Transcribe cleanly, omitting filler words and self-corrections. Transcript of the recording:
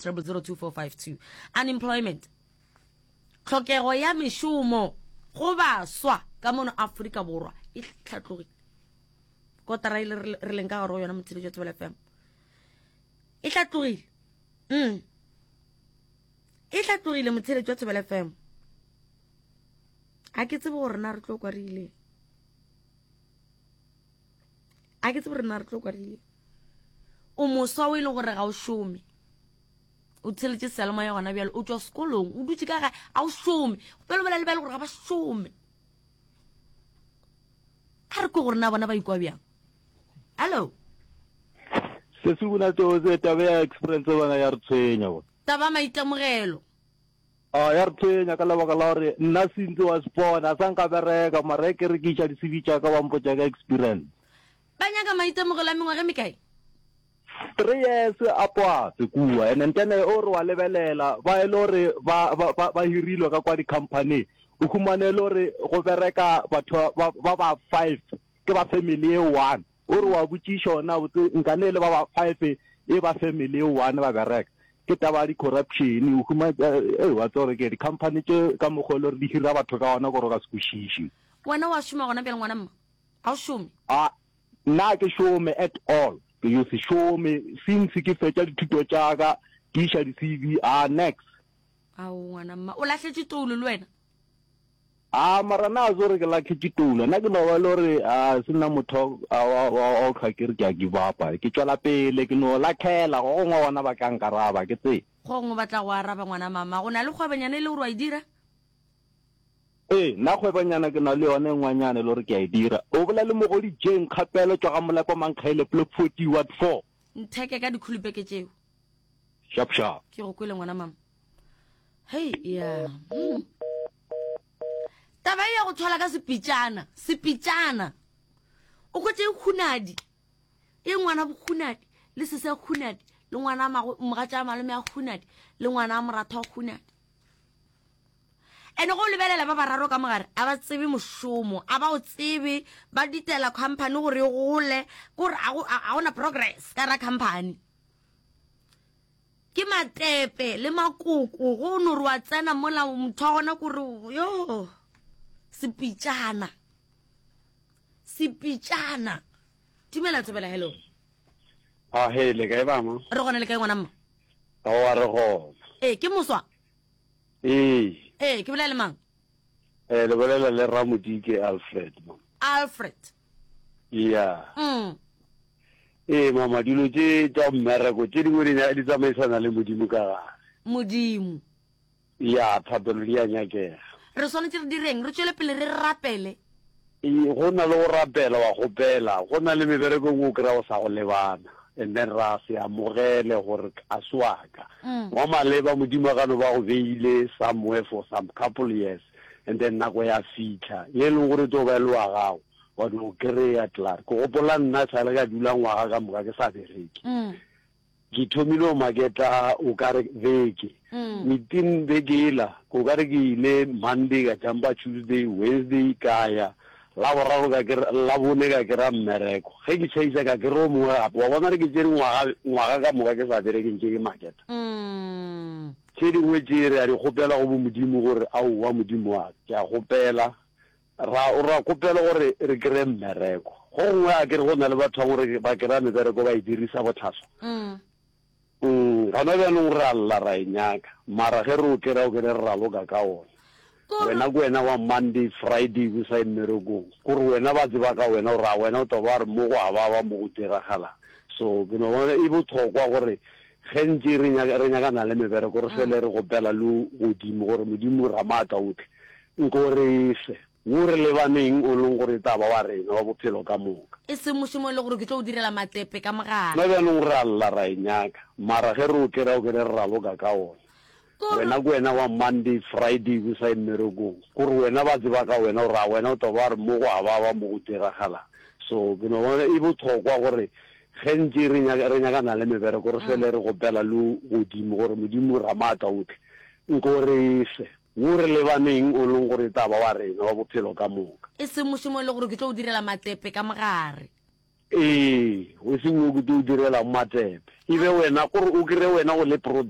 0002452. Unemployment. Tlhokego ya mešomo go baswa ka mono Afrika Borwa e hlatlogile. Kotara e le re leng ka gare go yona motheletši wa Thobela FM. E hlatlogile. Mm. E hlatlogile motheletši wa Thobela FM. A ke tsebe gore na re tlo kwa re ileng. A ke tsebe gore na re tlo kwa re ileng. O moswa o e leng gore ga o šome. O theletše seyalemoya gona bjale, o tšwa sekolong, o dutše ka gae, a o šome. Pele o bolela le ba e le gore ga ba šome. A re kwe gore na bona ba ikwa bjang. Hello. Se se bona tose taba ya experience bana ya re tshwenya bona. Taba maitemogelo. A ya re tshwenya ka lebaka la gore nna sentse wa spona sa nka bereka mara e ke re ke iša di-CV tša ka ba mpotša ka experience. Ba nyaka maitemogelo a mengwaga e mekae? 3 years a poape kua and then o re wa lebelela ba e le gore ba ba ba ba hirilwe ka kwa di-company o humane e le gore go bereka batho ba ba ba five ke ba family e one o re wa botšiša ona botse nkane e le ba ba five e ba family e one ba bereka ke taba ya di-corruption o huma e wa tseba gore ke di-company tše ka mokgwa e le gore di hira batho ka ona gore o ka se kwešiše. Wena wa šoma gona bjale ngwana mma? Ga o šome? A Nna ga ke šome at all, ke yo se šome since ke fetša dithuto tša ka, ke iša di CV, ah nex. Ao ngwana mma, o lahletše toulo le wena? Ah mara nna ga se gore ke lahletše toulo, nna ke no ba e le gore ah se nna motho wa wa wa go hlwa ke re ke a give up-a, ke tšwela pele ke no lakhela, go gongwe bona ba tla nkaraba, ke tsebe. Go gongwe ba tla go araba ngwana mama, o na le kgwebonyana e le gore wa e dira? Ee, nna kgwebonyana ke na le yona e nngwanyana e le gore ke a e dira. O bolela le Mogodi Jane Kgapelo tšwa ga Molepo Mankgaile Block 40 Ward 4. Ntheke ka dikhulupeke tšeo. Sharp sharp. Ke go kwele ngwana mama. Hei ya. Hmm. Taba e ya go thwala ka sepitšana, sepitšana. O kwetše e khunadi. E ngwana bokhunadi le sese khunadi le ngwana mogatša malome a khunadi le ngwana a moratho a khunadi. Ene go lebelela ba bararo ka mogare a ba tsebe mošomo, a ba o tsebe, ba ditela company gore e gole, kore a gona progress ka ra company. Ke matepe le makoko go no re wa tsena mola motho wa gona kore yo sepitšana sepitšana. Dumela Thobela, hello. A he le kae bama? Re gona le kae ngwana mma? Aowa re gona. Ee ke moswa. Ee. Ee, ke bolela le mang? Eh, le bolela le Ramodike Alfred, mama. Alfred. Yeah. Mm. Ee, mama, dilo tše tša mmereko tše dingwe di di tsamaisana le Modimo ka gare. Modimo. Ya, thapelo di a nyakega. Re swanetše re direng? Re tšwele pele re rapele. Ee, go na le go rapela wa kgopela, go na le mebereko e nngwe o kry-a o sa go lebana and then ra se amogele gore a se wa ka. Wa maleba Modimo a ka no ba go beile somewhere for some couple years and then nako ya fitlha ye e leng gore e tlo ba e le wa gago wa di o kry-a klaar. Ke gopola nna sale ka dula ngwaga ka moka ke sa bereke. Ke thomile go maketa o ka re beke. Within beke yela, o ka re ke ile Monday ka jumpa Tuesday, Wednesday ka ya, Laboraro ka kry, Labone ka kry-a mmereko. Ge ke tšhaisa ka kry-a o mongwe gape. Wa bona re ke tšere ngwaga, ngwaga ka moka ke sa bereke ntše ke maketa. Tše dingwe tše re a di kgopela go bo Modimo gore aowa Modimo wa ka, ke a kgopela Ra, ra kgopela gore re kry-e mmereko. Go gongwe a kere go na le batho ba gore ba kry-a mebereko ba e dirisa bohlaswa. Mm, gona bjanong re a lla ra e nyaka, mara ge re o kry-a o kere re raloka ka ona. Wena ke wena wa Monday, Friday o sa ye mmerekong. Kore wena ba tseba ka wena gore a wena o tlo ba re mo go a baba mo go diragalang. So ke no bona e bohlokwa gore ge ntše re nyaka re nyakana le mebereko re fele re gopela le godimo gore Modimo Ramaatlaohle Nko re fe wo re lebaneng o leng gore e tla ba wa rena wa bophelo ka moka. E seng mošomo e le gore ke tlo o direla matepe ka mogare. Gona bjanong re a lla ra e nyaka, mara ge re o kry-a o kere re raloka ka ona. Wena ke wena wa Monday, Friday o sa ye mmerekong. Kore wena ba tseba ka wena gore a wena o tlo ba re mo go a baba mo go diragalang. So ke no bona e bohlokwa gore ge ntše re nyaka re nyakana le mebereko re fele re gopela le godimo gore Modimo Ramaatlaohle nko re fe. Wo re lebaneng o leng gore e tla ba wa rena wa bophelo ka moka. E seng mošomo e le gore ke tlo o direla matepe ka mogare. Ee, e seng wo ke tlo o direlang matepe. E be wena, gore o kry-e wena o le product.